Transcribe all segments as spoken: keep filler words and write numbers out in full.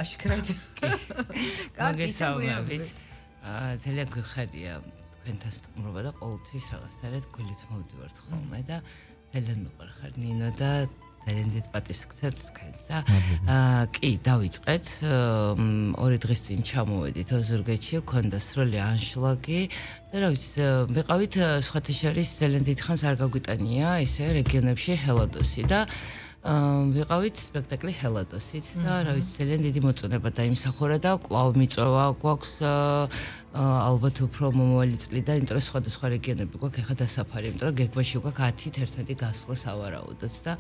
აშკარად. მოგესალმებით. აა ძალიან გვიხარია თქვენთან სტუმრობა და ყოველთვის რაღაცნაირად გულით მოვდივართ ხოლმე და ძალიან მიყვარხარ ნინო და ძალიან დიდ პატივს გცემთ თქვენს და აა კი დავიწყეთ ორი დღის წინ ჩამოვედით ოზურგეთში ქონდა სრული ანშლაგი და რა ვიცი მიყავით სხვათა შორის ძალიან დიდ ხანს არ გაგვიტანია ისე რეგიონებში ჰელადოსი და ვიყავით სპექტაკლი ჰელადოსით და რა ვიცი ძალიან დიდი მოწონება დაიმსახურა და კვლავ მიწვევა გვაქვს ალბათ უფრო მომავალი წლიდან იმიტომ რომ სხვადასხვა რეგიონები გვაქვს ეხა დასაფარი იმიტომ რომ გეგმაში გვაქვს ათი თერთმეტი გასვლა სავარაუდოდ და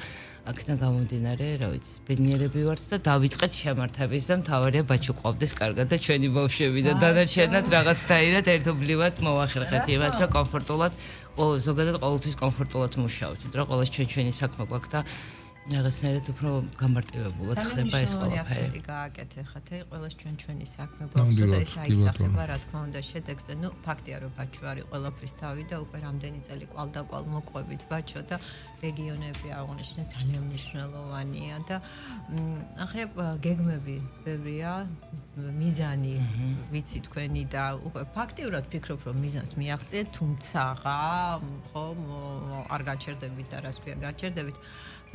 აქედან გამომდინარე რა ვიცი ბედნიერები ვართ და დავიწყეთ შემართების და მთავარია ბაჩო ყავდეს კარგად და ჩვენი ბავშვები და დანარჩენად რაღაცნაირად ერთობლივად მოვახერხეთ იმას რომ კომფორტულად ზოგადად ყოველთვის კომფორტულად მუშაობთ იმიტომ რომ ყოველს ჩვენ ჩვენი საქმე გვაქვს და რაღაცნაირად უფრო გამარტივებულად ხდება ეს ყველაფერი. გააკეთე ხათე, ყველას ჩვენ ჩვენი საქმე გვაქვს და ეს აისახება რა თქმა უნდა შედეგზე. ნუ ფაქტია რომ ბაჩო არის ყველაფრის თავი და უკვე რამდენი წელი კვალდაკვალ მოყვებით ბაჩო და რეგიონები აღნიშნე ძალიან მნიშვნელოვანია და ახლა გეგმები ბევრია, მიზანი ვიცი თქვენი და უკვე ფაქტიურად ფიქრობ რომ მიზანს მიაღწიეთ, თუმცა ხო არ გაჩერდებით და რას ქვია გაჩერდებით.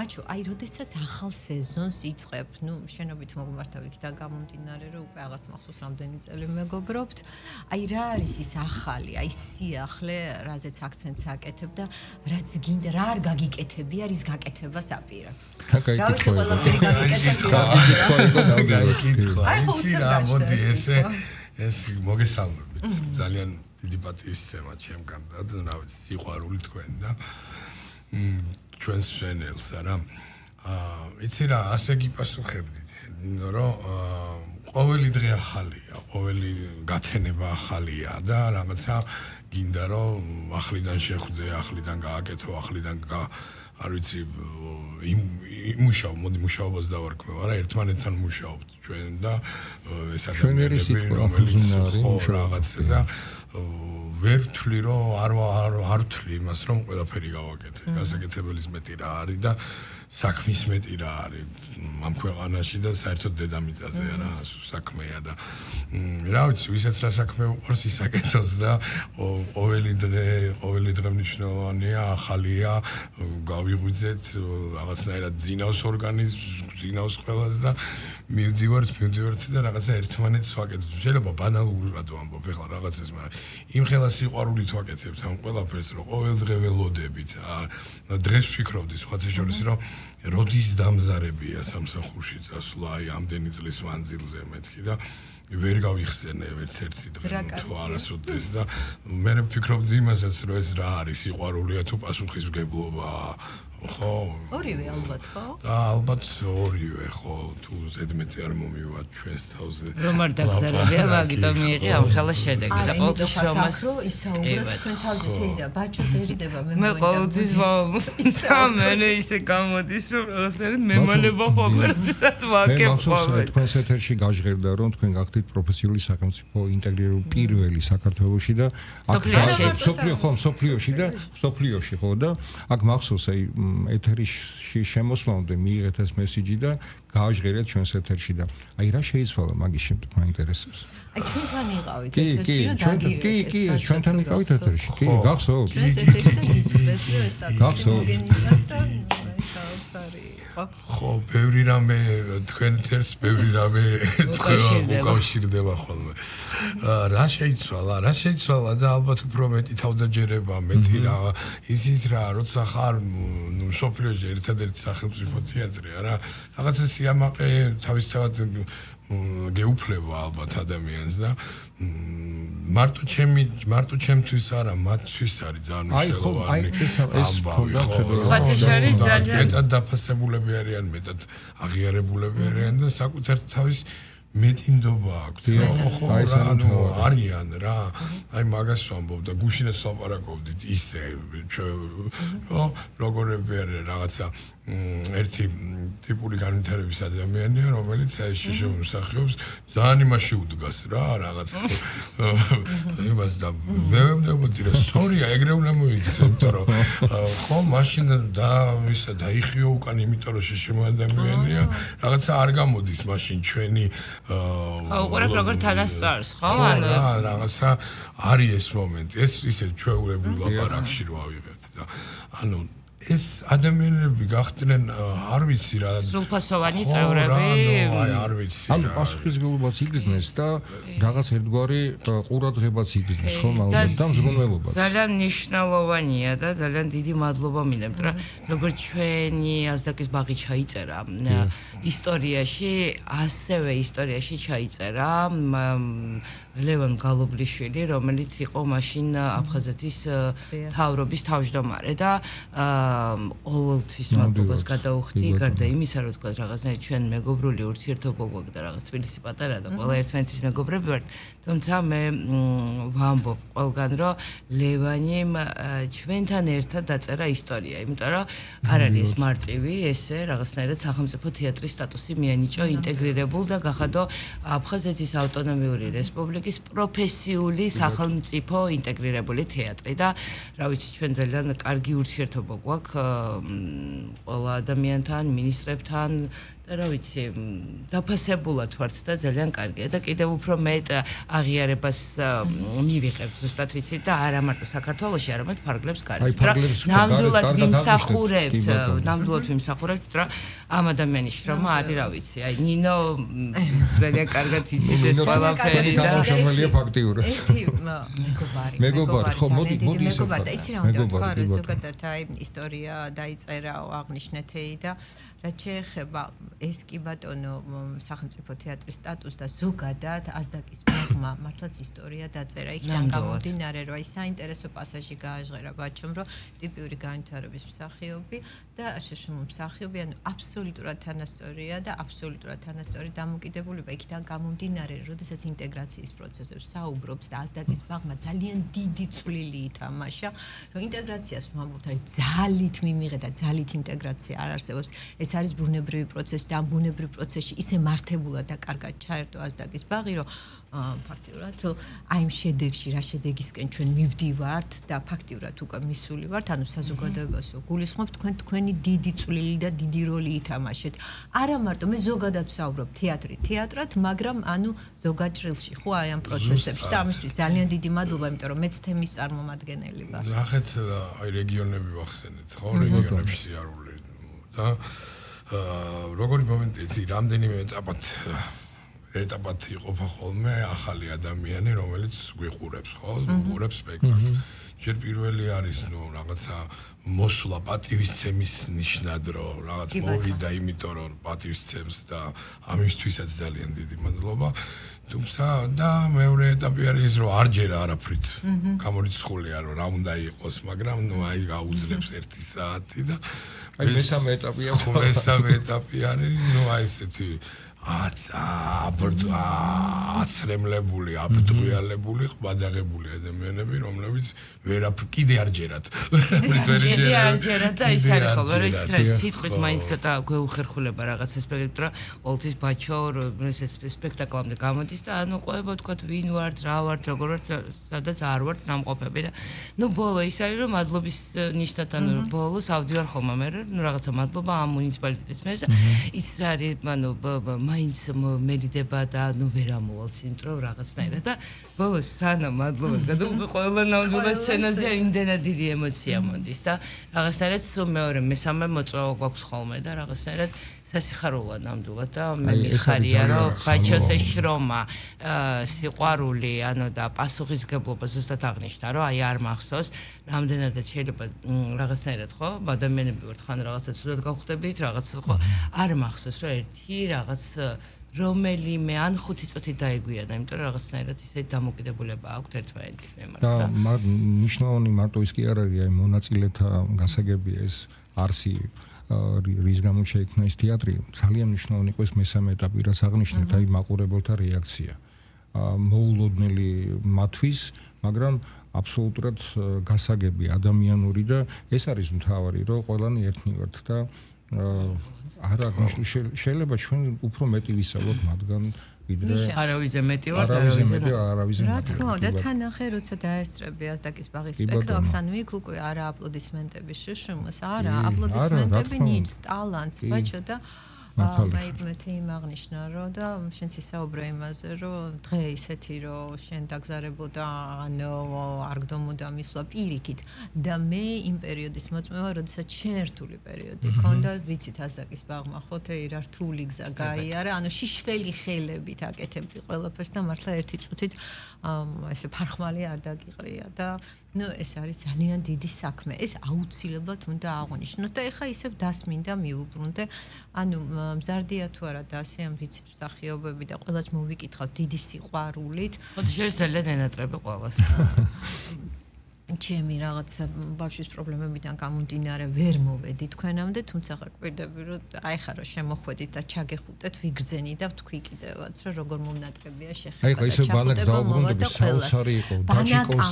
ბაჩო, აი, როდესაც ახალ სეზონს იწყებ, ნუ შენობით მოგმართა ვიქიდან გამომდინარე, რომ უკვე რაღაც მახსოვს რამდენი წელი მეგობრობთ. აი, რა არის ის ახალი, აი, სიახლე, რაზეც აქცენტს აკეთებ და რაც გინდა, რა არ გაგიკეთები, არის გაკეთებას აპირებ. რა ვიცი, ყველაფერი გაგიკეთები. აი, ხო, უცებ რა, მოდი ესე, ეს მოგესალმებით. ძალიან დიდი პატივის თემა ჩემგან და რა ვიცი, სიყვარული თქვენ და ჩვენს შენელს არა აა იცი რა ასე გიპასუხებდით რომ ყოველი დღე ახალია ყოველი გათენება ახალია და რაღაცა გინდა რომ ახლიდან შეხვდე ახლიდან გააკეთო ახლიდან არ ვიცი იმუშაო მოდი მუშაობას დავარქმევ არა ერთმანეთთან მუშაობთ ჩვენ და ეს ადამიანები რომელიც ხო რაღაცა და ვერ ვთვლი რომ არ არ ვთვლი იმას რომ ყველაფერი გავაკეთე. გასაკეთებელის მეტი რა არის და საქმის მეტი რა არის ამ ქვეყანაში და საერთოდ დედამიწაზე რა საქმეა და რა ვიცი ვისაც რა საქმე უყვარს ის აკეთოს და ყოველი დღე ყოველი დღე მნიშვნელოვანია ახალია გავიღვიძეთ რაღაცნაირად ძინავს ორგანიზმს ძინავს ყველას და მივდივართ მივდივართ და რაღაცა ერთმანეთს ვაკეთებ შეიძლება ბანალურად ვამბობ ეხლა რაღაცას მაგრამ იმ ხელა სიყვარულით ვაკეთებთ ამ ყველაფერს რომ ყოველ დღე ველოდებით დღეს ვფიქრობდი სხვათა შორის რომ როდის დამზარებია სამსახურში წასვლა აი ამდენი წლის მანძილზე მეთქი და ვერ გავიხსენე ერთ-ერთი დღე თუ არასოდეს და მე ვფიქრობდი იმასაც რომ ეს რა არის სიყვარულია თუ პასუხისმგებლობაა ხო ორივე ალბათ ხო და ალბათ ორივე ხო თუ ზედმეტი არ მომივათ ჩვენს თავზე რომ არ დაგზარებია მაგიტომ მიიღე ამ ხელა შედეგი და ყოველთვის რომას ისაუბრებ თქვენ თავზე თეიდა ბაჩოს ერიდება მე მე ყოველთვის სამენე ისე გამოდის რომ რაღაცნაირად მემალება ხოლმე როდესაც ვაკებ ხოლმე თქვენს ეთერში გაჟღერდა რომ თქვენ გახდით პროფესიული სახელმწიფო ინტეგრირებული პირველი საქართველოში და აქ სოფლიო ხო სოფლიოში და სოფლიოში ხო და აქ მახსოვს აი ეთერში შემოსვლამდე მიიღეთ ეს მესიჯი და გააჟღერეთ ჩვენს ეთერში და აი რა შეიცვალა მაგის შემდეგ მაინტერესებს აი ჩვენთან იყავით ეთერში რომ დაგირეკეთ კი კი ჩვენთან იყავით ეთერში კი გახსოვთ ჩვენს ეთერში და გიძრეს რომ ეს სტატუსი მოგენიჭათ და საოცარი ხო ბევრი რამე თქვენ ეთერს ბევრი რამე თქვა უკავშირდება ხოლმე რა შეიცვალა რა შეიცვალა და ალბათ უფრო მეტი თავდაჯერება მეტი რა ისიც რა როცა ხარ სოფლიოში ერთადერთი სახელმწიფო თეატრი რა რაღაცა სიამაყე თავისთავად გეუფლება ალბათ ადამიანს და მარტო ჩემი მარტო ჩემთვის არა მათთვის არის ძალიან მნიშვნელოვანი აი ხო აი ეს ეს ფონდა ხათაშარი ძალიან მეტად დაფასებულები არიან მეტად აღიარებულები არიან და საკუთარ თავის მეტი ნდობა აქვს ხო რა არიან რა აი მაგას ვამბობ და გუშინაც ლაპარაკობდით ისე რომ როგორები არის რაღაცა ერთი ტიპური განვითარების ადამიანია, რომელიც აი შემოსახავს ძალიან იმაში უდგას რა, რაღაც იმას და მე ვემნებოდი რომ სწორია, ეგრე უნდა მოიქცე, იმიტომ რომ ხო, მაშინ და ისა დაიხიო უკან, იმიტომ რომ შეშემო ადამიანია, რაღაცა არ გამოდის მაშინ ჩვენი ხო, უყურებ როგორ თანასწორს, ხო? ანუ რაღაცა არის ეს მომენტი, ეს ისე ჩვეულებრივ ლაპარაკში რო ავიღებთ და ანუ ეს ადამიანები გახდნენ არ ვიცი რა სრულფასოვანი წევრები აი არ ვიცი ანუ პასუხისმგებლობაც იგრძნეს და რაღაც ერთგვარი ყურადღებაც იგრძნეს ხო მაგრამ და მზრუნველობაც ძალიან მნიშვნელოვანია და ძალიან დიდი მადლობა მინდა იმიტომ რომ როგორც ჩვენი აზდაკის ბაღი ჩაიწერა ისტორიაში ასევე ისტორიაში ჩაიწერა ლევან გალობლიშვილი რომელიც იყო მაშინ აფხაზეთის მთავრობის თავმჯდომარე და ყოველთვის მადლობას გადაუხდი გარდა იმისა რომ თქვა რაღაცნაირად ჩვენ მეგობრული ურთიერთობა გვაქვს და რაღაც თბილისი პატარა და ყველა ერთმანეთის მეგობრები ვართ თუმცა მე ვამბობ ყველგან რომ ლევანიმ ჩვენთან ერთად დაწერა ისტორია იმიტომ რომ არ არის ეს მარტივი ესე რაღაცნაირად სახელმწიფო თეატრის სტატუსი მიანიჭო ინტეგრირებულ და გახადო აფხაზეთის ავტონომიური რესპუბლიკის პროფესიული სახელმწიფო ინტეგრირებული თეატრი და რა ვიცი ჩვენ ძალიან კარგი ურთიერთობა გვაქვს ყველა ადამიანთან, მინისტრებთან და რა ვიცი, დაფასებულად ვართ და ძალიან კარგია და კიდევ უფრო მეტ აღიარებას მივიღებთ ზუსტად ვიცით და არა მარტო საქართველოში, არამედ ფარგლებს გარეთ. ნამდვილად ვიმსახურებთ, ნამდვილად ვიმსახურებთ, რომ ამ ადამიანის შრომა არის რა ვიცი, აი ნინო ძალიან კარგად იცის ეს ყველაფერი და შემოელია ფაქტიურად. ერთი მეგობარი, მეგობარი, ხო, მოდი, მოდი ისე მეგობარი და იცი რა უნდა თქვა, რომ ზოგადად აი ისტორია დაიწერა აღნიშნეთეი და რაც შეეხება ეს კი ბატონო სახელმწიფო თეატრის სტატუსს და ზოგადად აზდაკის ბაღმა მართლაც ისტორია დაწერა იქიდან გამომდინარე რომ აი საინტერესო პასაჟი გააჟღერა ბაჩომ რომ ტიპიური განვითარების მსახიობი და შეშმო მსახიობი ანუ აბსოლუტურად თანასწორია და აბსოლუტურად თანასწორი დამოკიდებულება იქიდან გამომდინარე როდესაც ინტეგრაციის პროცესებს საუბრობთ და აზდაკის ბაღმა ძალიან დიდი წვლილი ითამაშა რომ ინტეგრაციას ვამბობთ აი ძალით მიმიღე და ძალით ინტეგრაცია არ არსებობს ეს არის ბუნებრივი პროცესი და ამ ბუნებრივ პროცესში ისე მართებულად და კარგად ჩაერთო აზდაკის ბაღი, რომ ფაქტიურად აი ამ შედეგში რა შედეგისკენ ჩვენ მივდივართ და ფაქტიურად უკვე მისული ვართ, ანუ საზოგადოებას გულისხმობთ თქვენ თქვენი დიდი წვლილი და დიდი როლი ითამაშეთ. არა მარტო მე ზოგადად ვსაუბრობ თეატრი თეატრად, მაგრამ ანუ ზოგაჭრილში ხო აი ამ პროცესებში და ამისთვის ძალიან დიდი მადლობა, იმიტომ რომ მეც თემის წარმომადგენელი ვარ. ნახეთ აი რეგიონები ვახსენეთ, ხო რეგიონებში სიარული და როგორი მომენტია იცი რამდენიმე ეტაპად ეტაპად იყოფა ხოლმე ახალი ადამიანი რომელიც გვიყურებს ხო უყურებს სპექტაკლს ჯერ პირველი არის ნუ რაღაცა მოსვლა პატივისცემის ნიშნად რომ რაღაც მოვიდა იმიტომ რომ პატივისცემს და ამისთვისაც ძალიან დიდი მადლობა თუმცა და მეორე ეტაპი არის ის რომ არ ჯერა არაფრით გამორიცხულია რომ რა უნდა იყოს მაგრამ ნუ აი გაუძლებს ერთი საათი და აი მესამე ეტაპია ხო მესამე ეტაპი არის ნუ აი ესეთი აცრემლებული, აბდღიალებული, ყბადაღებული ადამიანები, რომლებიც ვერაფრ კიდე არ ჯერათ. კიდე არ ჯერათ და ის არის ხოლმე, რომ ის სიტყვით მაინც ცოტა გვეუხერხულება რაღაცა სპექტაკლი, ყოველთვის ბაჩო ეს სპექტაკლამდე გამოდის და ანუ ყვება თქვა ვინ ვართ, რა ვართ, როგორ ვართ, სადაც არ ვართ ნამყოფები და ნუ ბოლო ის არის რომ მადლობის ნიშნად ანუ ბოლოს ავდივარ ხოლმე მე ნუ რაღაცა მადლობა ამ მუნიციპალიტეტის მეზე ის რა არის ანუ მაინც მელიდება და ნუ ვერ ამოვალ ცენტრო რაღაცნაირად და ბოლოს სანამ მადლობას გადავუყე ყველა ნამდვილად სცენაზე იმდენად დიდი ემოცია მომდის და რაღაცნაირად სულ მეორე მესამე მოწვევა გვაქვს ხოლმე და რაღაცნაირად სასიხარულო ნამდვილად და მე მიხარია რომ ბაჩოს ეს შრომა სიყვარული ანუ და პასუხისგებლობა ზუსტად აღნიშნა რომ აი არ მახსოვს რამდენადაც შეიძლება რაღაცნაირად ხო ადამიანები ვართ ხან რაღაცა ცუდად გავხდებით რაღაცა ხო არ მახსოვს რომ ერთი რაღაც რომელიმე ან ხუთი წუთი დაეგვიანა იმიტომ რომ რაღაცნაირად ისე დამოკიდებულება აქვს ერთმანეთის მიმართ და მნიშვნელოვანი მარტო ის კი არ არის აი მონაწილეთა გასაგებია ეს არსი რის გამო შეიქმნა ეს თეატრი ძალიან მნიშვნელოვანი იყო ეს მესამე ეტაპი რაც აღნიშნეთ აი მაყურებელთა რეაქცია მოულოდნელი მათთვის მაგრამ აბსოლუტურად გასაგები ადამიანური და ეს არის მთავარი რომ ყველანი ერთნი ვართ და არა შეიძლება ჩვენ უფრო მეტი ვისაუბროთ მათგან ვიდრე არავიზე მეტი ვარ არავიზე მეტი არავიზე რა თქმა უნდა თან ახე როცა დაესწრები ასდაკის ბაღის სპექტაკლს ანუ იქ უკვე არა აპლოდისმენტები შშმ-ს არა აპლოდისმენტები ნიჭს ტალანტს ბაჭო და აი მე თემ აღნიშნა რომ და შენც ისაუბრე იმაზე რომ დღე ისეთი რომ შენ დაგზარებოდა ანუ არ გდომოდა მისვლა პირიქით და მე იმ პერიოდის მოწმევა როდესაც შენ რთული პერიოდი ქონდა ვიცით ასდაკის ბაღმა ხოთე რა რთული გზა გაიარა ანუ შიშველი ხელებით აკეთებდი ყველაფერს და მართლა ერთი წუთით ესე ფარხმალი არ დაგიყრია და ну ეს არის ძალიან დიდი საქმე ეს აუცილებლად უნდა აღვნიშნოთ და ეხა ისევ დასმინდა მიუბრუნდე ანუ მზარდია თუ არა დასი ამ ვიცით მსახიობები და ყველას მოვიკითხავთ დიდი სიყვარულით ხოთი შეიძლება ძალიან ენატრები ყველას ჩემი რაღაც ბავშვის პრობლემებიდან გამომდინარე ვერ მოვედი თქვენამდე თუმცა ყვირდები რომ აი ხა რომ შემოხვედით და ჩაგეხუტეთ ვიგრძენი და ვთქვი კიდევაც რომ როგორ მომნატრებია შეხება აი ხა ისე ბანაკ დაუბრუნდები საოცარი იყო დაჩიკოს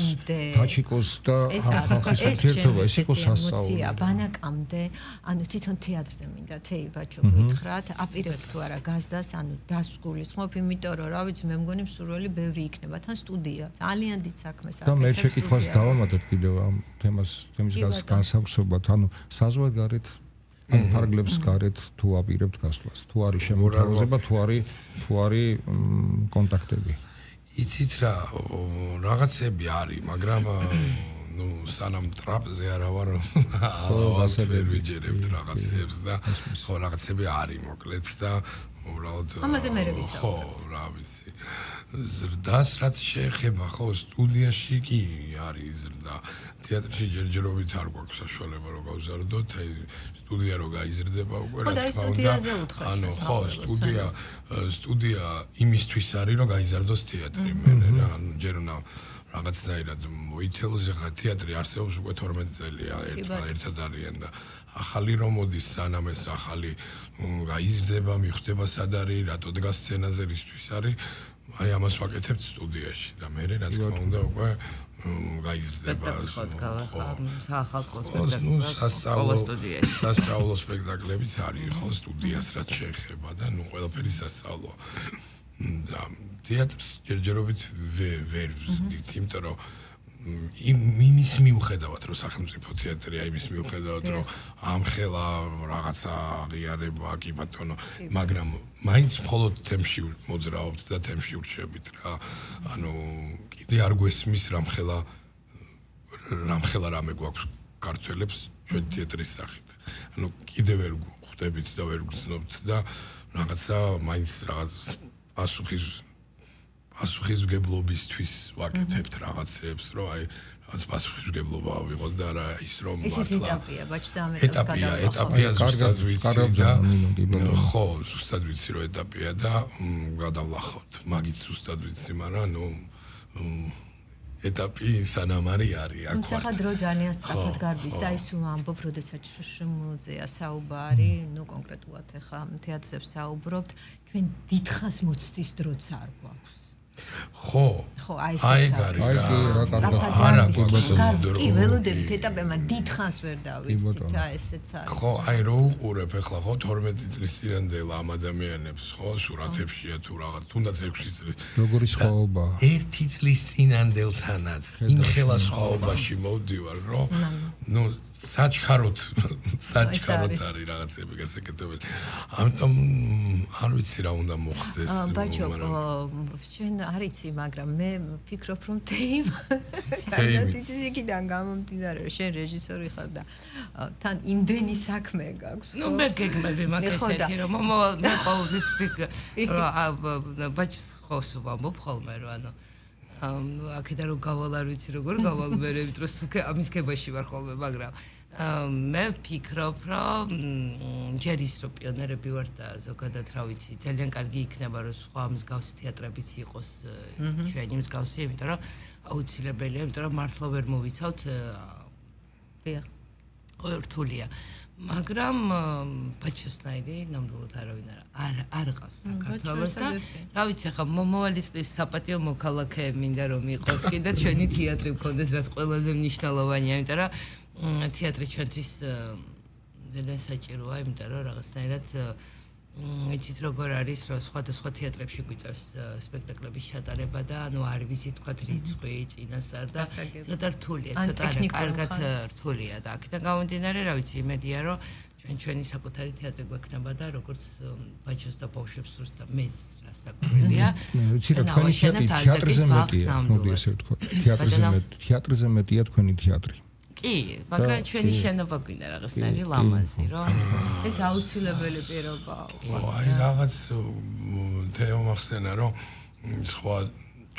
დაჩიკოს და ახალგაზრდა ერთობა ეს იყო სასწაული ბანაკამდე ანუ თვითონ თეატრზე მინდა თეი ბაჭო გითხრათ აპირებთ თუ არა გაზდას ანუ დასგულისხმობ იმიტომ რომ რა ვიცი მე მგონი მსურველი ბევრი იქნება თან სტუდია ძალიან დიდ საქმეს აკეთებს და მე შეკითხვას დავამატებ კიდევ ამ თემას თემის განსახსოვრად ანუ საზღვარგარეთ ან ფარგლებს გარეთ თუ აპირებთ გასვლას თუ არის შემოთავაზება თუ არის თუ არის კონტაქტები იცით რა რაღაცები არის მაგრამ ну სანამ ტრაპზე არა ვარ ასები ვიჯერებთ რაღაცებს და ხო რაღაცები არის მოკლედ და უბრალოდ ამაზე მე ვისაუბრებ ხო რა ვიცი ზრდას რაც შეეხება ხო სტუდიაში კი არის ზრდა თეატრში ჯერჯერობით არ გვაქვს საშუალება რომ გავზარდოთ აი სტუდია რო გაიზრდება უკვე რა თქმა უნდა ანუ ხო სტუდია სტუდია იმისთვის არის რომ გაიზარდოს თეატრი მე რა ანუ ჯერ უნდა რაღაცნაირად მოითელოს ხა თეატრი არსებობს უკვე თორმეტი წელია ერთად არიან და ახალი რომ მოდის სანამ ეს ახალი გაიზრდება მიხვდება სად არის რატო დგას სცენაზე რისთვის არის აი ამას ვაკეთებთ სტუდიაში და მე რა თქმა უნდა უკვე გაიზრდება საახალწლო სპექტაკლი სასწავლო სპექტაკლებიც არის ხო სტუდიას რაც შეეხება და ნუ ყველაფერი სასწავლო და თეატრს ჯერჯერობით ვერ ვზრდით იმიტომ რომ იმის მიუხედავად რომ სახელმწიფო თეატრია იმის მიუხედავად რომ ამხელა რაღაცა აღიარება კი ბატონო მაგრამ მაინც მხოლოდ თემში მოძრაობთ და თემში ურჩებით რა ანუ კიდე არ გვესმის რამხელა რამხელა რამე გვაქვს ქართველებს ჩვენ თეატრის სახით ანუ კიდე ვერ ხვდებით და ვერ გრძნობთ და რაღაცა მაინც რაღაც პასუხის პასუხისმგებლობისთვის ვაკეთებთ რაღაცებს, რომ აი რაღაც პასუხისმგებლობა ავიღოთ და რა ის რომ მართლა ეს ეტაპია, ბაჭდა ამ ეტაპს გადავახო. ეტაპია ზუსტად ვიცი და ხო, ზუსტად ვიცი რომ ეტაპია და გადავახოთ. მაგით ზუსტად ვიცი, მაგრამ ნუ ეტაპი სანამ არის არის აქ. თუმცა ხა დრო ძალიან სწრაფად გარბის და ის ვამბობ, როდესაც შშმ-ზეა საუბარი, ნუ კონკრეტულად ახლა თეატრზე ვსაუბრობთ, ჩვენ დიდხანს მოცდის დროც არ გვაქვს. ხო ხო აი ეს არის არა გვაქვს კი ველოდებით ეტაპებმა დიდხანს ვერ დავიცით და ესეც არის ხო აი რო უყურებ ახლა ხო თორმეტი წლის წინანდელ ამ ადამიანებს ხო სურათებშია თუ რაღაც თუნდაც ექვსი წლის როგორი სხვაობა ერთი წლის წინანდელთანაც იმ ხელა სხვაობაში მოვდივარ რომ ნუ საჩქაროთ საჩქაროთ არის რაღაცები გასაკეთებელი ამიტომ არ ვიცი რა უნდა მოხდეს ბაჭო ჩვენ არ იცი მაგრამ მე ვფიქრობ რომ თეიმ თეიმის იქიდან გამომდინარე რომ შენ რეჟისორი ხარ და თან იმდენი საქმე გაქვს ნუ მე გეგმები მაქვს ესეთი რომ მომავალ მე ყოველთვის ვფიქრობ რომ ბაჭს ხოს ვამბობ ხოლმე რომ ანუ აქედან რომ გავალ არ ვიცი როგორ გავალ მე რე ვიტრო სუქე ამის ქებაში ვარ ხოლმე მაგრამ მე ვფიქრობ რომ ჯერ ის რომ პიონერები ვარ და ზოგადად რა ვიცი ძალიან კარგი იქნება რომ სხვა მსგავსი თეატრებიც იყოს ჩვენი მსგავსი იმიტომ რომ აუცილებელია იმიტომ რომ მართლა ვერ მოვიცავთ დიახ რთულია მაგრამ ბაჩოსნაირი ნამდვილად არავინ არ არ ყავს საქართველოს და რა ვიცი ხა მომავალი წლის საპატიო მოქალაქე მინდა რომ იყოს კიდე ჩვენი თეატრი მქონდეს რაც ყველაზე მნიშვნელოვანია იმიტომ რომ თეატრი ჩვენთვის ძალიან საჭიროა, იმიტომ რომ რაღაცნაირად იცით როგორ არის, რომ სხვადასხვა თეატრებში გვიწევს სპექტაკლების ჩატარება და ანუ არ ვიცით თქვა რიცხვი, წინასწარ და ცოტა რთულია, ცოტა კარგად რთულია და აქედან გამომდინარე, რა ვიცი, იმედია რომ ჩვენ ჩვენი საკუთარი თეატრი გვექნება და როგორც ბაჩოს და ბავშვებს სურს და მეც რა საკვირველია. ვიცი რა თქვენი თეატრი თეატრზე მეტია, მოდი ესე ვთქვა. თეატრზე მეტ თეატრზე მეტია თქვენი თეატრი. კი, მაგრამ ჩვენი შენობა გვინდა რაღაცნაირი ლამაზი, რომ ეს აუცილებელი პირობაა. აი რაღაც თეო მახსენა რომ სხვა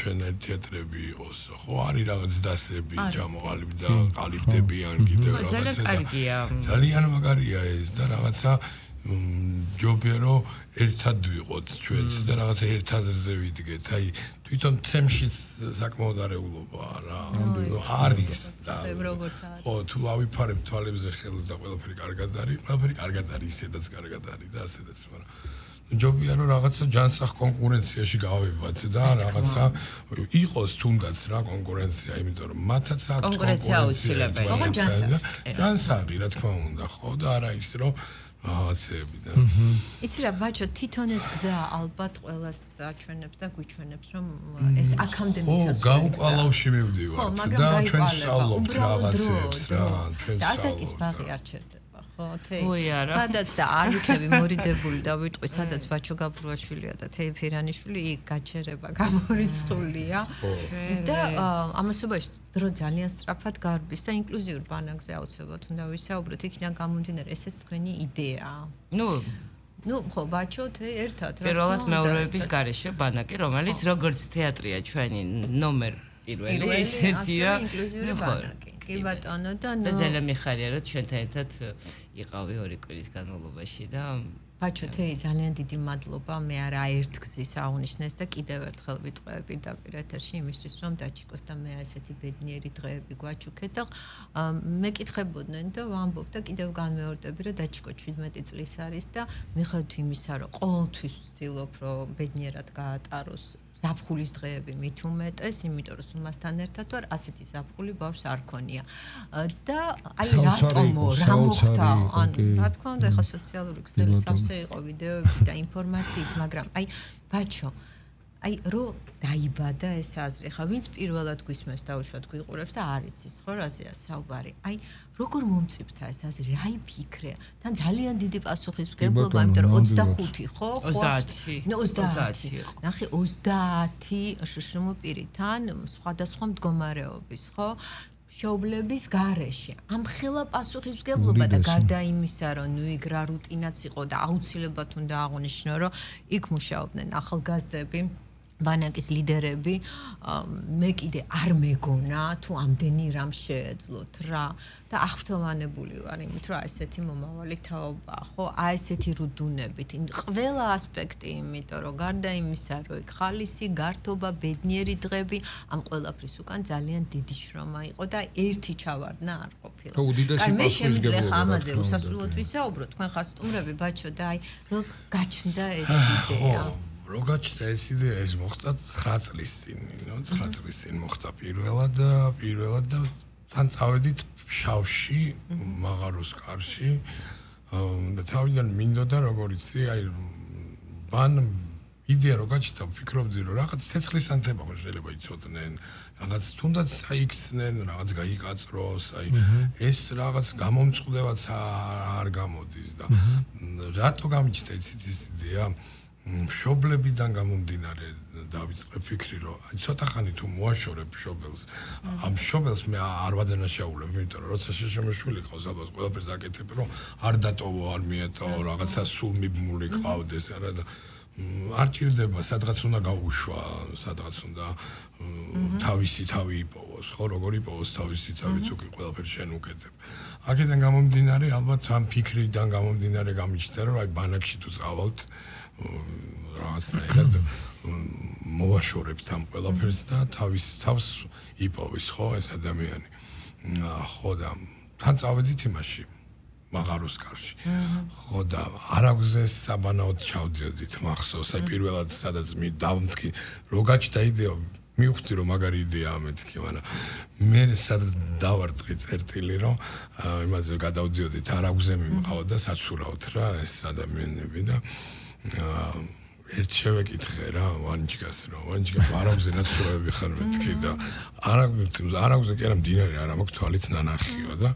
ჩვენ თეატრები იყოს, ხო არის რაღაც დასები, ჯამოყალიბი და ყალიბდები ან კიდევ რაღაცა. ძალიან კარგია. ძალიან მაგარია ეს და რაღაცა ჯობია რომ ერთად ვიყოთ ჩვენც და რაღაცა ერთადზე ვიდგეთ. აი თვითონ თემშიც საკმაოდ არეულობაა რა. არის და როგორც არის. ხო, თუ ავიფარებ თვალებზე ხელს და ყველაფერი კარგად არის, ყველაფერი კარგად არის, ისედაც კარგად არის და ასედაც, მაგრამ ჯობია რომ რაღაცა ჯანსაღ კონკურენციაში გავიბათ და რაღაცა იყოს თუნდაც რა კონკურენცია, იმიტომ რომ მათაც აქვს კონკურენცია აუცილებელია. ოღონდ ჯანსაღი. ჯანსაღი რა თქმა უნდა, ხო და არა ის რომ რაღაცები და იცი რა ბაჩო თვითონ ეს გზა ალბათ ყველას აჩვენებს და გვიჩვენებს რომ ეს აქამდე მისასვლელი გზაა. ო გაუყალავში მივდივართ და ჩვენ სწავლობთ რაღაცებს რა, ჩვენ და სწავლობთ. ასაკის ბაღი არ ჩერდება. ხო, თე. ой, არა. სადაც და არ ვიქნები მორიდებული და ვიტყვი, სადაც ბაჩო გაბურაშვილია და თეი ფირანიშვილი იქ გაჩერება გამორიცხულია. და ამასობაში დრო ძალიან სწრაფად გარბის და ინკლუზიურ ბანაკზე აუცილებლად უნდა ვისაუბროთ. იქიდან გამომდინარე, ესეც თქვენი იდეაა. ნუ ნუ ხო ბაჩო თე ერთად რა. პირველად მეორეების გარეშე ბანაკი, რომელიც როგორც თეატრია ჩვენი ნომერ პირველი, ისეთია ინკლუზიური ბანაკი. კი ბატონო და ნუ ძალიან მიხარია რომ ჩვენთან ერთად იყავი ორი კვირის განმავლობაში და ბაჩო თეი ძალიან დიდი მადლობა მე არა ერთ გზის აღნიშნეს და კიდევ ერთხელ ვიტყვები და პირეთერში იმისთვის რომ დაჩიკოს და მე ასეთი ბედნიერი დღეები გვაჩუქეთ და მეკითხებოდნენ და ვამბობ და კიდევ განმეორდები რომ დაჩიკო შვიდმეტი წლის არის და მიხედვით იმისა რომ ყოველთვის ვცდილობ რომ ბედნიერად გაატაროს ზაფხულის დღეები მით უმეტეს, იმიტომ რომ სუმასთან ერთად ვარ, ასეთი ზაფხული ბავშვს არ ქონია. და აი რატომო, რა მოხდა? ან რა თქმა უნდა, ეხა სოციალური ქსელი სავსე იყო ვიდეოები და ინფორმაციით, მაგრამ აი ბაჩო, აი რო დაიბადა ეს აზრი, ხა ვინც პირველად გვისმენს და უშუალოდ გვიყურებს და არ იცის ხო რაზეა საუბარი. აი როგორ მომწიფთა ეს აზრი, რა იფიქრე? თან ძალიან დიდი პასუხისმგებლობა, იმიტომ რომ ოცდახუთი ხო? ოცდაათი. ნუ ოცდაათი. ნახე ოცდაათი შშმ პირიდან სხვადასხვა მდგომარეობის, ხო? შოვლების გარეშე. ამ ხელა პასუხისმგებლობა და გარდა იმისა, რომ ნუ იქ რა რუტინაც იყო და აუცილებლად უნდა აღვნიშნო, რომ იქ მუშაობდნენ ახალგაზრდები ბანაკის ლიდერები, მე კიდე არ მეგონა თუ ამდენი რამ შეეძლოთ რა და აღფრთოვანებული ვარ იმით, რომ ესეთი მომავალი თაობა, ხო, აი ესეთი რუდუნებით, ყველა ასპექტი, იმიტომ რომ გარდა იმისა, რომ იქ ხალისი, გართობა, ბედნიერი დღები, ამ ყველაფრის უკან ძალიან დიდი შრომა იყო და ერთი ჩავარდნა არ ყოფილა. ხო, უდიდესი მე შემიძლია პასუხისმგებლობა, ხა ამაზე რა თქმა უნდა, უსასრულოდ კი. ვისაუბრო, თქვენ ხართ სტუმრები, ბაჩო და აი რომ გაჩნდა ეს იდეა. რო გაჩნდა ეს იდეა, ეს მოხდა ცხრა წლის წინ, ნუ ცხრა წლის წინ მოხდა პირველად და პირველად და თან წავედით შავში, მაღაროს კარში და თავიდან მინდოდა როგორ იცი, აი ბან იდეა რო გაჩნდა, ვფიქრობდი რომ რაღაც ცეცხლის ანთება ხო შეიძლება იცოდნენ, რაღაც თუნდაც აიქცნენ, რაღაც გაიკაწროს, აი ეს რაღაც გამომწყდებაც არ გამოდის და რატო გამიჩნდა იცით ეს იდეა? მშობლებიდან გამომდინარე დავიწყე ფიქრი რომ აი ცოტა ხანი თუ მოაშორებ მშობელს ამ მშობელს მე არ ვადანაშაულებ იმიტომ რომ როცა შეშმოშვილი ყავს ალბათ ყველაფერს აკეთებ რომ არ დატოვო არ მიეტოვო რაღაცა სულ მიბმული ყავდეს არა და არ ჭირდება სადღაც უნდა გაუშვა სადღაც უნდა თავისი თავი იპოვოს ხო როგორ იპოვოს თავისი თავი თუ კი ყველაფერს შენ უკეთებ აქედან გამომდინარე ალბათ ამ ფიქრიდან გამომდინარე გამიჩნდა რომ აი ბანაკში თუ წავალთ რაღაცნაირად მოვაშორებთ ამ ყველაფერს და თავის თავს იპოვის ხო ეს ადამიანი ხო და თან წავედით იმაში მაღაროს კარში ხო და არაგზე საბანაოდ ჩავდიოდით მახსოვს აი პირველად სადაც მე დავმტკი რო გაჩნდა იდეა მივხვდი რომ მაგარი იდეაა მეთქი, მაგრამ მე სადაც დავარტყი წერტილი რომ იმაზე გადავდიოდით არაგზე მიმყავდა და საცურავთ რა ეს ადამიანები და ერთ შევეკითხე რა ვანჯგას რომ ვანჯგა არაგზე ნაცურავები ხარ მეთქი და არაგზე არაგზე კი არა მდინარე არა მაქვს თვალით ნანახიო და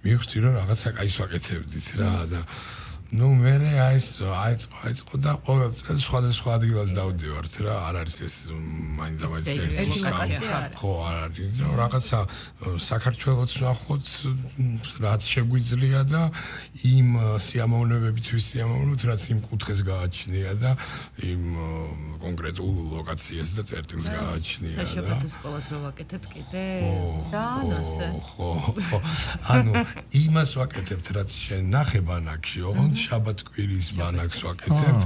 მივხვდი რომ რაღაცა კაის ვაკეთებდით რა და ну მერე აის აიწყო აიწყო და ყოველ წელს სხვადასხვა ადგილას დავდივართ რა არ არის ეს მაინდა-მაინც ერთი ხო არ არის რაღაცა საქართველოს ნახოთ რაც შეგვიძლია და იმ სიამოვნებებითვის სიამოვნებთ რაც იმ კუთხეს გააჩნია და იმ კონკრეტულ ლოკაციას და წერტილს გააჩნია და შაბათის სკოლას რო ვაკეთებთ კიდე და ნოსე ხო ხო ანუ იმას ვაკეთებთ რაც შენ ნახე ბანაკში ოღონდ შაბათ კვირის ბანაკს ვაკეთებთ.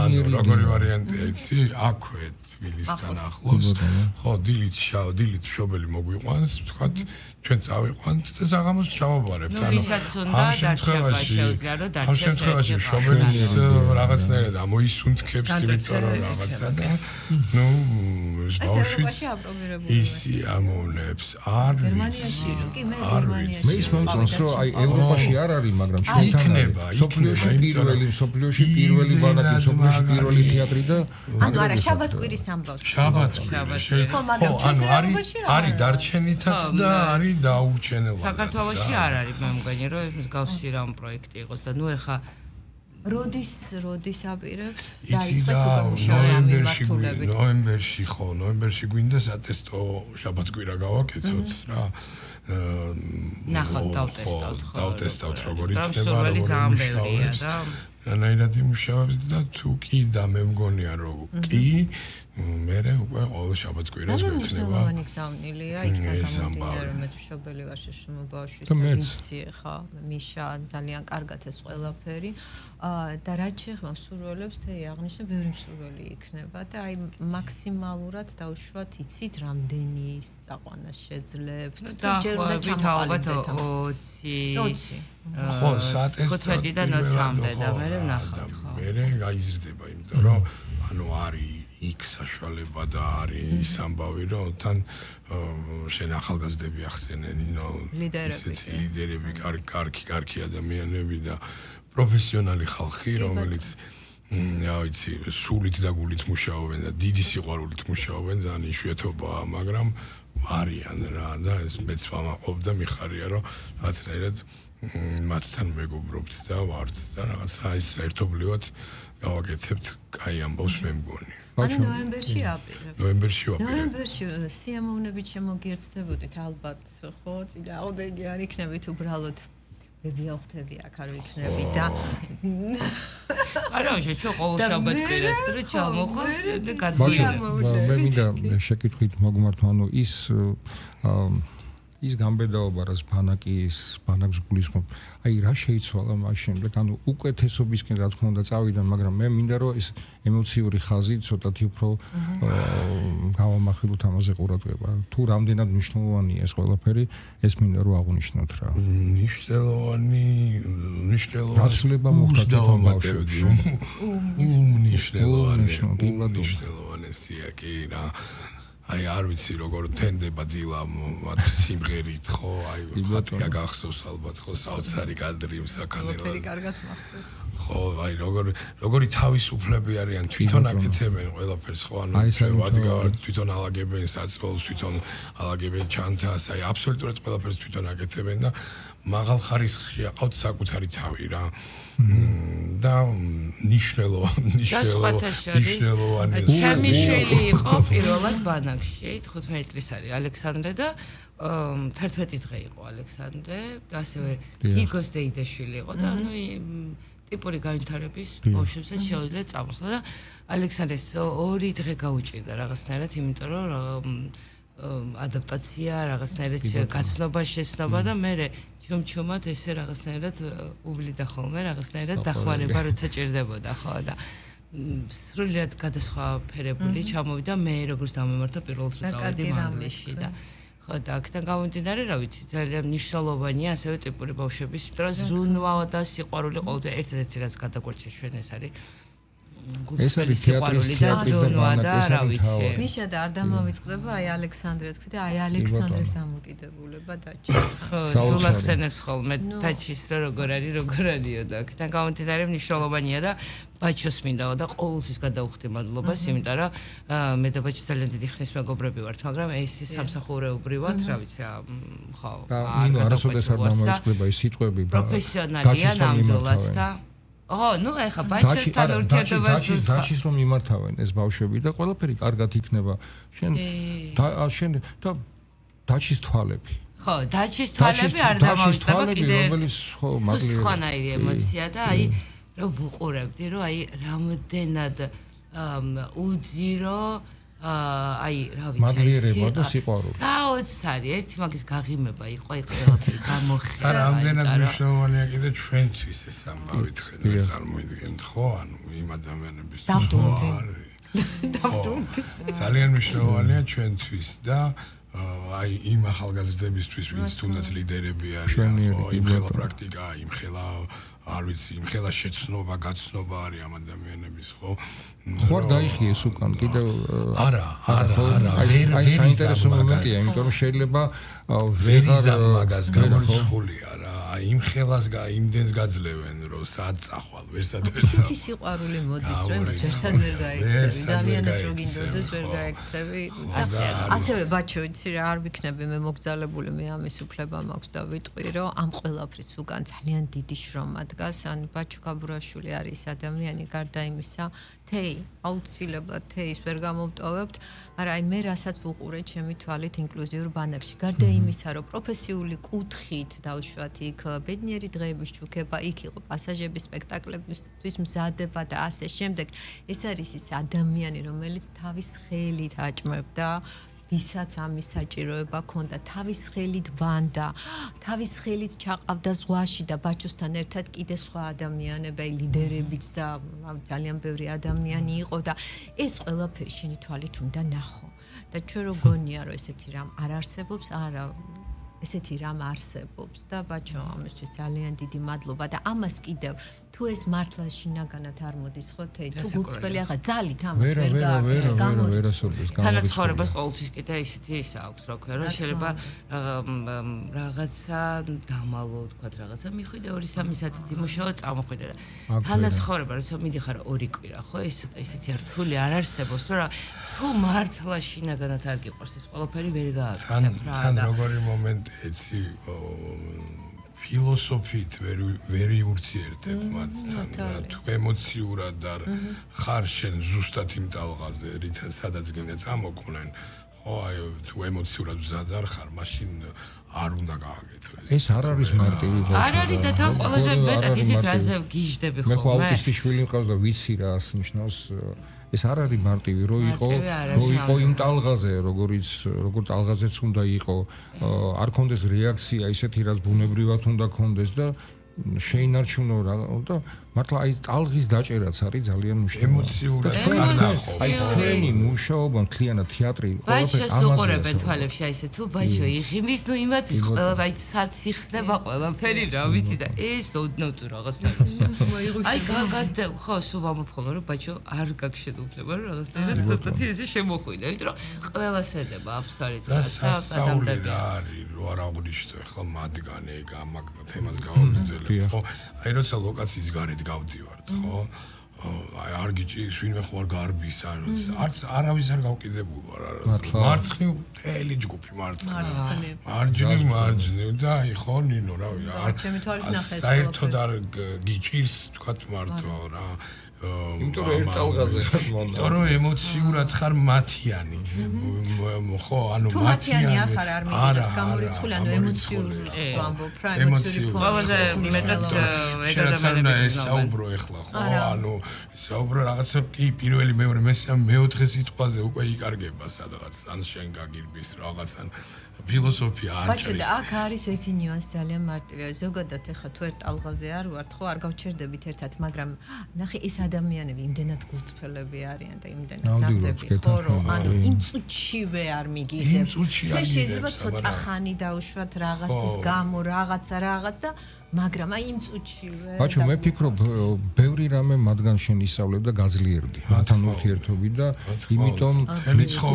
ანუ როგორი ვარიანტია იცი? აქვე თბილისთან ახლოს. ხო, დილით შავ, დილით მშობელი მოგვიყვანს, ვთქვათ, ჩვენ წავიყვანთ და საღამოს ჩავაბარებთ. ანუ ვისაც უნდა დარჩება შეუძლია რომ დარჩეს. ამ შემთხვევაში მშობელის რაღაცნაირად ამოისუნთქებს, იმიტომ რომ რაღაცა და ნუ ეს ბავშვიც ისი ამოვნებს. არ გერმანიაში რო კი მე გერმანიაში. მე ის მომწონს რომ აი ევროპაში არ არის, მაგრამ ჩვენთან იქნება, სოფლიოში პირველი, სოფლიოში პირველი ბანაკი, სოფლიოში პირველი თეატრი და ანუ არა შაბათ კვირის ამბავს. შაბათ კვირის. ხო, ანუ არის არის დარჩენითაც და არის დაურჩენელად. საქართველოში არ არის, მე მგონი რომ ეს მსგავსი რამ პროექტი იყოს და ნუ ეხა როდის როდის აპირებთ დაიწყეთ უკვე მუშაობა ამ მიმართულებით. ნოემბერში ხო, ნოემბერში გვინდა სატესტო შაბათ-კვირა გავაკეთოთ რა. ნახოთ დავტესტავთ ხო. დავტესტავთ როგორი იქნება. სურვილი ძალიან ბევრია და რანაირად იმუშავებს და თუ კი და მე მგონია რომ კი მერე უკვე ყოველ შაბათ-კვირას გვექნება. მრავალი გზავნილია იქიდან გამომდინარე რომ მეც მშობელი ვარ შეშმო ბავშვის და ვიცი ხა მიშა ძალიან კარგად ეს ყველაფერი და რაც შეეხება სურვილებს თეი აღნიშნე ბევრი სურვილი იქნება და აი მაქსიმალურად დავუშვათ იცით რამდენი საყვანას შეძლებთ და ჯერ უნდა ჩამოყალიბდეთ ოცი ხო სატესტო და ნოცამდე და მე ვნახავთ ხო მე გაიზრდება იმიტომ რომ ანუ არის იქ საშუალება და არის ამბავი რომ თან შენ ახალგაზრდები ახსენენ ნო ლიდერები ლიდერები კარგი კარგი ადამიანები და პროფესიონალი ხალხი რომელიც რა ვიცი სულით და გულით მუშაობენ და დიდი სიყვარულით მუშაობენ ძალიან იშვიათობაა მაგრამ არიან რა და ეს მეც ვამაყობ და მიხარია რომ რაღაცნაირად მათთან მეგობრობთ და ვართ და რაღაცა ის ერთობლივად გავაკეთებთ კაი ამბავს მე მგონი ანუ ნოემბერში აპირებთ. ნოემბერში ვაპირებთ. ნოემბერში სიამოვნებით შემოგიერთდებოდით ალბათ, ხო, წინააღმდეგი არ იქნებით უბრალოდ ვებიახთები აქ არ ვიქნები და არა, შე ყოველ შაბათ-კვირას და ჩამოხოს და გადმოიღო. მე მინდა შეკითხვით მოგმართო, ანუ ის ის გამბედაობა რაც ბანაკის ბანაკს გულისხმობ აი რა შეიცვალა მაშინ ანუ უკეთესობისკენ რა თქმა უნდა წავიდან მაგრამ მე მინდა რომ ეს ემოციური ხაზი ცოტათი უფრო გავამახვილოთ ამაზე ყურადღება თუ რამდენად მნიშვნელოვანია ეს ყველაფერი ეს მინდა რომ აღნიშნოთ რა მნიშვნელოვანი მნიშვნელოვანი რაცლება მოხდა თვითონ ბავშვებში უმნიშვნელოვანი მნიშვნელოვანია კი რა აი არ ვიცი როგორ თენდება დილა მათ სიმღერით ხო აი ხათია გახსოვს ალბათ ხო საოცარი კადრი მსაქანელას ყველაფერი კარგად მახსოვს ხო აი როგორ როგორი თავისუფლები არიან თვითონ აკეთებენ ყველაფერს ხო ანუ ვადგავართ თვითონ ალაგებენ საწოლს თვითონ ალაგებენ ჩანთას აი აბსოლუტურად ყველაფერს თვითონ აკეთებენ და მაღალ ხარისხში აყავთ საკუთარი თავი რა და ნიშნელოვანი ნიშნელოვანი ჩემი შვილი იყო პირველად ბანაკში თხუთმეტი წლის არის ალექსანდრე და თერთმეტი დღე იყო ალექსანდრე და ასევე გიგოს დეიდაშვილი იყო და ანუ ტიპური განვითარების ბავშვებსაც შეუძლია წამოსვლა და ალექსანდრეს ორი დღე გაუჭირდა რაღაცნაირად იმიტომ რომ ადაპტაცია რაღაცნაირად გაცნობა შეცნობა და მე ჩუმჩუმად ესე რაღაცნაირად უვლიდა ხოლმე რაღაცნაირად დახმარება როცა ჭირდებოდა ხო და სრულიად გადასხვაფერებული ჩამოვიდა მე როგორც დამემართა პირველად რო წავედი მანგლისში და ხო და აქედან გამომდინარე რა ვიცი ძალიან მნიშვნელოვანია ასევე ტიპური ბავშვების იმიტომ რომ ზრუნვა და სიყვარული ყოველდღე ერთ-ერთი რაც გადაგვარჩა ჩვენ ეს არის ეს არის თეატრის თეატრის და რა ვიცი. მიშა და არ დამოვიწყდება აი ალექსანდრეს თქვი და აი ალექსანდრეს დამოკიდებულება დაჭირს. ხო, სულახსენებს ხოლმე დაჭირს რა როგორ არის, როგორ არისო და აქედან გამომდინარე მნიშვნელოვანია და ბაჩოს მინდაო და ყოველთვის გადავხდი მადლობას, იმიტომ რომ მე და ბაჩი ძალიან დიდი ხნის მეგობრები ვართ, მაგრამ ეს სამსახურეობრივად, რა ვიცი, ხო. და ნინო არასოდეს არ დამოვიწყდება ეს სიტყვები პროფესიონალია ნამდვილად და ო, ნუ ეხა ბაჩესთან ურთიერთობას დაჩის რომ იმართავენ ეს ბავშვები და ყველაფერი კარგად იქნება. შენ შენ და დაჩის თვალები. ხო, დაჩის თვალები არ დამოვიწყდება კიდე. რომელიც ხო მაგლიერი. სხვანაირი ემოცია და აი რომ ვუყურებდი, რომ აი რამდენად უძირო აი, რა ვიცი, მაგლიერება და სიყვარული. საოცარი, ერთი მაგის გაღიმება იყო, აი ყველაფერი გამოხდა. და რამდენად მნიშვნელოვანია კიდე ჩვენთვის ეს ამბავი თქვენ ვერ წარმოიდგენთ, ხო? ანუ იმ ადამიანების დავდუმდი. ძალიან მნიშვნელოვანია ჩვენთვის და აი იმ ახალგაზრდებისთვის, ვინც თუნდაც ლიდერები არიან, ხო, იმ ხელა პრაქტიკა, იმ ხელა არ ვიცი, იმ ხელა შეცნობა, გაცნობა არის ამ ადამიანების, ხო? ხო არ დაიხიე ეს უკან კიდევ არა, არა, არა, ვერ აი საინტერესო მომენტია, იმიტომ რომ შეიძლება ვერიზა მაგას გამორიცხულია რა, აი იმ ხელას და იმდენს გაძლევენ, რომ სად წახვალ, ვერსად ვერსად. თითი სიყვარული მოდის, რომ ვერსად ვერ გაიქცევი, ძალიანაც რო გინდოდეს ვერ გაიქცევი. ასევე ბაჩო, იცი რა, არ ვიქნები მე მოგზალებული, მე ამის უფლება მაქვს და ვიტყვი, რომ ამ ყველაფრის უკან ძალიან დიდი შრომა დგას, ან ბაჩო გაბურაშვილი არის ადამიანი, გარდა იმისა, თეი, აუცილებლად თეის ვერ გამოვტოვებთ, მაგრამ აი მე რასაც ვუყურე ჩემი თვალით ინკლუზიურ ბანაკში, გარდა იმისა, რომ პროფესიული კუთხით დავუშვათ იქ ბედნიერი დღეების ჩუქება, იქ იყო პასაჟების სპექტაკლებისთვის მზადება და ასე შემდეგ, ეს არის ის ადამიანი, რომელიც თავის ხელით აჭმევდა ვისაც ამის საჭიროება ჰქონდა, თავის ხელით ბანდა, თავის ხელით ჩაყავდა ზღვაში და ბაჩოსთან ერთად კიდე სხვა ადამიანები, ლიდერებიც და ძალიან ბევრი ადამიანი იყო და ეს ყველაფერი შენი თვალით უნდა ნახო. და ჩვენ რო გონია, რომ ესეთი რამ არ არსებობს, არა ესეთი რამ არსებობს და ბაჩო ამისთვის ძალიან დიდი მადლობა და ამას კიდევ თუ ეს მართლა შინაგანად არ მოდის ხო თეი თუ გულწრფელი ახლა ძალით ამას ვერ გააკეთე გამორიცხული თანაცხოვრებას ყოველთვის კიდე ისეთი ის აქვს რა ქვია რომ შეიძლება რაღაცა დამალო თქვა რაღაცა მიხვიდე ორი სამი საათით იმუშაო წამოხვიდე რა თანაცხოვრება როცა მიდიხარ ორი კვირა ხო ეს ესეთი რთული არ არსებობს რა თუ მართლა შინაგანად არ გიყვარს ეს ყველაფერი ვერ გააკეთებ რა თან როგორი მომენტი ეცი ფილოსოფიით ვერ ვერ იურთიერთებ მათთან თუ ემოციურად არ ხარ შენ ზუსტად იმ ტალღაზე რითაც სადაც გინდა წამოყვნენ ხო აი თუ ემოციურად მზად არ ხარ მაშინ არ უნდა გააკეთო ეს არ არის მარტივი ბავშვი არ არის და თან ყველაზე მეტად ისიც რაზე გიждები ხოლმე მე ხო აუტისტი შვილი მყავს და ვიცი რა ნიშნავს ეს არ არის მარტივი რო იყო რო იყო იმ ტალღაზე როგორიც როგორ ტალღაზეც უნდა იყო არ კონდეს რეაქცია ისეთი რაც ბუნებრივად უნდა კონდეს და შეინარჩუნო რა და მართლა აი ტალღის დაჭერაც არის ძალიან მნიშვნელოვანი ემოციურად არ ნახო აი თქვენი მუშაობა მთლიანად თეატრი ყველაფერი ამაზე უყურებენ თვალებში აი ესე თუ ბაჩო იღიმის ნუ იმათის ყველა აი სად სიხსნება ყველაფერი რა ვიცი და ეს ოდნავ თუ რაღაც აი გაგადე ხო სულ ვამოფხოლო რომ ბაჩო არ გაგშედუფლება რომ რაღაცნაირად ცოტათი ესე შემოხვიდა იმიტომ რომ ყველას ედება აბსოლუტურად და სასწაული რა არის რო არ აღნიშნო ხო მათგანე გამაკ თემას გავაგრძელებ ხო აი როცა ლოკაციის გარეთ გავდივართ ხო აი არ გიჭირს ვინმე ხო არ გარბის არც არავის არ გავკიდებულ ვარ მარცხნივ მთელი ჯგუფი მარცხნივ მარჯვნივ მარჯვნივ და აი ხო ნინო რა ვიცი საერთოდ არ გიჭირს თქვა მარტო რა იმიტომ რომ ერთ ტალღაზე ხარ მონდა იმიტომ რომ ემოციურად ხარ მათიანი ხო ანუ მათიანი ახარ არ მიგებს გამორიცხული ანუ ემოციური ვამბობ რა ემოციური ყველაზე მეტად ერთადერთი ეს საუბრო ეხლა ხო ანუ საუბრო რაღაცა კი პირველი მეორე მესამე მეოთხე სიტყვაზე უკვე იკარგება სადღაც ან შენ გაგირბის რაღაცა ფილოსოფია არ ჭრის. ბაჩო, აქ არის ერთი ნიუანსი ძალიან მარტივია. ზოგადად ეხა თუ ერთ ტალღაზე არ ვართ, ხო, არ გავჩერდებით ერთად, მაგრამ ნახე ეს ადამიანები იმდენად გულწრფელები არიან და იმდენად ნახდები ხო რომ ანუ იმ წუთშივე არ მიგიღებს ჩვენ შეიძლება ცოტა ხანი დავუშვათ რაღაცის გამო რაღაცა რაღაც და მაგრამ აი იმ წუთშივე ბაჩო მე ფიქრობ ბევრი რამე მათგან შენ ისწავლებ და გაძლიერდი მათთან ურთიერთობით და იმიტომ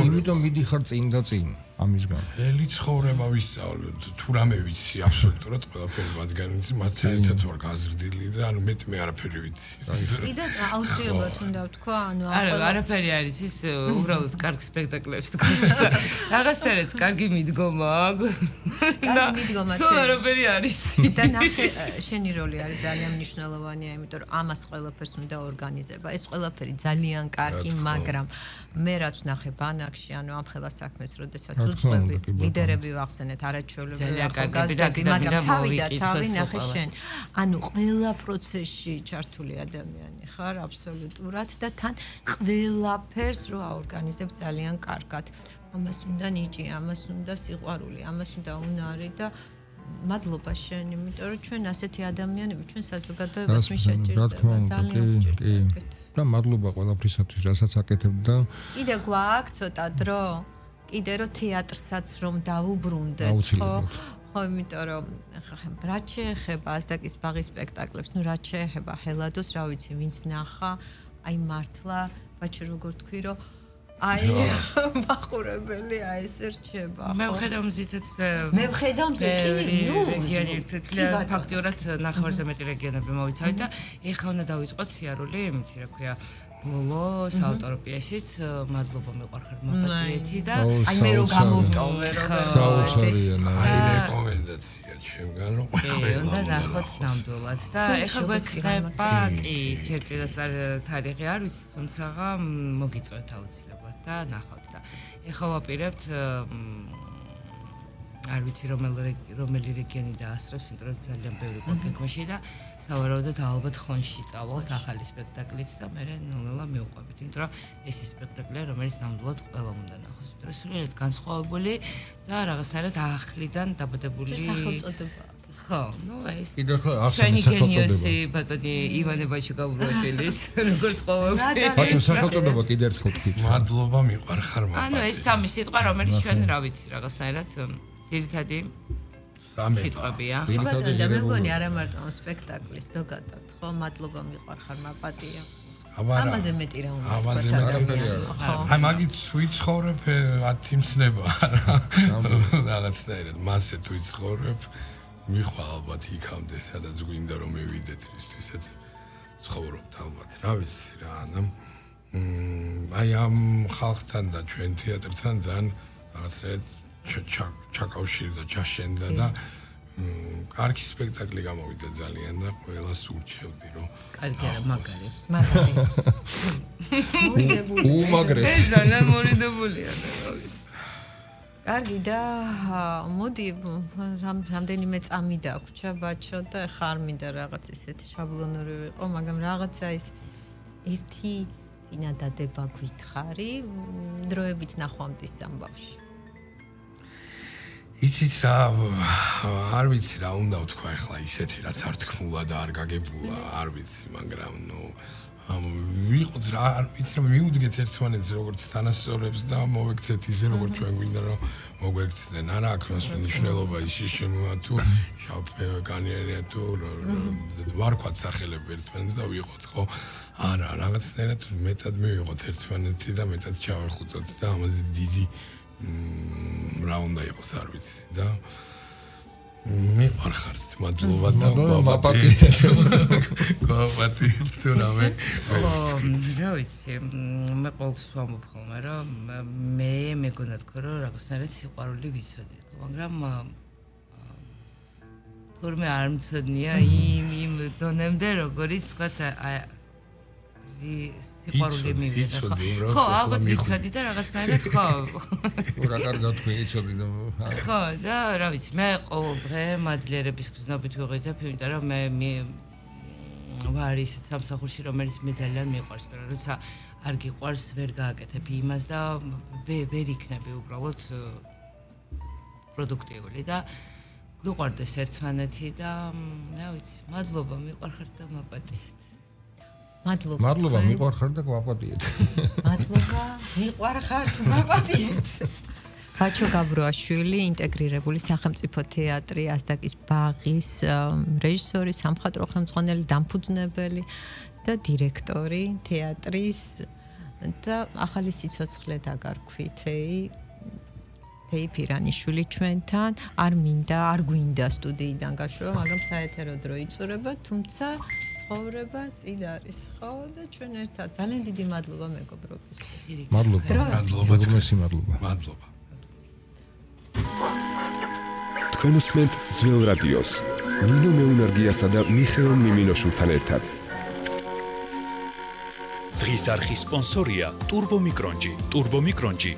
იმიტომ მიდიხარ წინ და წინ ამისგან ელი ცხოვრება ვისწავლე თუ რამე ვიცი აბსოლუტურად ყველაფერი მათგან ვიცი მათ ერთად ვარ გაზრდილი და ანუ მეტი მე არაფერი ვიცი კიდე აუცილებლად უნდა ვთქვა ანუ არა არაფერი არის ის უბრალოდ კარგ სპექტაკლებს თქოს რაღაცერეთ კარგი მიდგომა კარგი მიდგომა სულ არაფერი არის და ნახე შენი როლი არის ძალიან მნიშვნელოვანია იმიტომ რომ ამას ყველაფერს უნდა ორგანიზება ეს ყველაფერი ძალიან კარგი მაგრამ მე რაც ნახე ბანაკში ანუ ამ ხელა საქმეს როდესაც უწყობი ლიდერები ვახსენეთ არაჩვეულებრივი ახალგაზრდები მაგრამ თავი და თავი ნახე შენ ანუ ყველა პროცესში ჩართული ადამიანი ხარ აბსოლუტურად და თან ყველაფერს რო აორგანიზებ ძალიან კარგად ამას უნდა ნიჭი ამას უნდა სიყვარული ამას უნდა უნარი და მადლობა შენ იმიტომ რომ ჩვენ ასეთი ადამიანები ჩვენ საზოგადოებას მიშეჭირდება ძალიან გჭირდებათ და მადლობა ყველაფრისათვის რასაც აკეთებ და კიდე გვაქვს ცოტა დრო კიდე რომ თეატრსაც რომ დაუბრუნდეთ ხო ხო იმიტომ რომ რაც შეეხება ასდაკის ბაღის სპექტაკლებს ნუ რაც შეეხება ჰელადოს რა ვიცი ვინც ნახა აი მართლა ბაჩი როგორ თქვი რომ აი მაყურებელი აი ეს რჩება მე ვხედავ მზითაც მე ვხედავ მზე კი ნუ რეგიონი ფაქტიურად ნახევარზე მეტი რეგიონები მოვიცავით და ეხლა უნდა დავიწყოთ სიარული იმითი რა ქვია ბოლო საავტორო პიესით მადლობა მიყვარხარ მაპატიეთი და აი მე რო გამოვტოვე რომ საოცარია აი რეკომენდაცია ჩემგან რომ ყველა უნდა ნახოთ ნამდვილად და ეხლა გვექნება კი ქერწილასწარ თარიღი არ ვიცი თუმცა მოგიწევთ აუცილებლად და ნახავთ და ეხლა ვაპირებთ არ ვიცი რომელი რომელი რეგიონი დაასწრებს იმიტომ რომ ძალიან ბევრი გქონდა და სავარაუდოდ ალბათ ხონში წავალთ ახალი სპექტაკლით და მე ნელა მივყვებით იმიტომ რომ ეს სპექტაკლია რომელიც ნამდვილად ყველა უნდა ნახოს იმიტომ რომ სრულიად განსხვავებული და რაღაცნაირად ახლიდან დაბადებული სახელწოდება ხო ნუ ეს კიდე ხო ახსენე სახელწოდება ბატონი ივანე ბაჩიკაურაშვილის როგორც ყოველთვის ბატონ სახელწოდება კიდე ერთხელ თქვით მადლობა მიყვარხარ მაპატიეთი ანუ ეს სამი სიტყვა რომელიც ჩვენ რა ვიცი რაღაცნაირად ძირითადი სიტყვებია. ხო ბატონო და მე მგონი არა მარტო ამ სპექტაკლის ზოგადად ხო მადლობა მიყვარხარ მაპატია ამაზე მეტი რა უნდა ამაზე მეტი აი მაგით ვიცხოვრებ ათი მცნება რაღაცნაირად მასე თუ ვიცხოვრებ მიხვალ ალბათ იქამდე სადაც გვინდა რომ მივიდეთ ისეც ცხოვრობთ ალბათ რა ვიცი რა ანუ აი ამ ხალხთან და ჩვენ თეატრთან ძალიან რაღაცნაირად ჩაკავშირდა და ჩაშენდა და კარგი სპექტაკლი გამოვიდა ძალიან და ყველას ურჩევდი რომ კარგი არა მაგარი მაგარი მორიდებული უმაგრესი ძალიან მორიდებულია რა ვიცი კარგი და მოდი რამდენიმე წამი დაგვრჩა ბაჩო და ხარ მინდა რაღაც ისეთი შაბლონური ვიყო მაგრამ რაღაცა ის ერთი წინადადება გითხარი დროებით ნახვამდის ამბავში იცით რა არ ვიცი რა უნდა ვთქვა ახლა ისეთი რაც არ თქმულა და არ გაგებულა არ ვიცი მაგრამ ნუ ვიყოთ რა არ ვიცი რომ მიუდგეთ ერთმანეთს როგორც თანასწორებს და მოვექცეთ ისე როგორც ჩვენ გვინდა რომ მოგვექცნენ არა აქვს მას მნიშვნელობა ის შემოა თუ შავფერგანია თუ ვარქვათ სახელები ერთმანეთს და ვიყოთ ხო არა რაღაცნაირად მეტად მივიღოთ ერთმანეთი და მეტად ჩავეხუწოთ და ამაზე დიდი რა უნდა იყოს არ ვიცი და მიყვარხართ მადლობა და მაპატიეთ მაპატიეთ თუ რამე რა ვიცი მე ყოველთვის ვამბობ ხოლმე რომ მე მეგონა თქო რომ რაღაცნაირად სიყვარული ვიცოდი მაგრამ თურმე არ მცოდნია იმ იმ დონემდე როგორიც თქვა სიყვარული მივიღე ხო ხო ალბათ ვიცოდი და რაღაცნაირად ხო რა კარგად ვიცოდი და ხო და რა ვიცი მე ყოველ დღე მადლიერების გზნობით ვიღებ იმიტომ რომ მე ვარ ისეთ სამსახურში რომელიც მე ძალიან მიყვარს და როცა არ გიყვარს ვერ გააკეთებ იმას და ვერ იქნები უბრალოდ პროდუქტიული და გვიყვარდეს ერთმანეთი და რა ვიცი მადლობა მიყვარხართ და მაპატიეთ მადლობა. მადლობა, მიყვარხარ და გვაპატიეთ. მადლობა, მიყვარხართ, გვაპატიეთ. ბაჩო გაბროაშვილი, ინტეგრირებული სახელმწიფო თეატრი ასდაკის ბაღის რეჟისორი, სამხატვრო ხელმძღვანელი, დამფუძნებელი და დირექტორი თეატრის და ახალი სიცოცხლე დაგარქვითეი თეი ფირანიშვილი ჩვენთან. არ მინდა, არ გვინდა სტუდიიდან გაშოვა, მაგრამ საეთერო დრო იწურება, თუმცა ცხოვრება წინ არის, ხო და ჩვენ ერთად. ძალიან დიდი მადლობა მეგობრებისთვის. მადლობა. მადლობა. მადლობა. მადლობა. თქვენ უსმენთ ძველ რადიოს ნინო მეუნარგიასა და მიხეილ მიმინოშვილთან ერთად. დღის არხის სპონსორია ტურბო მიკრონჯი. ტურბო მიკრონჯი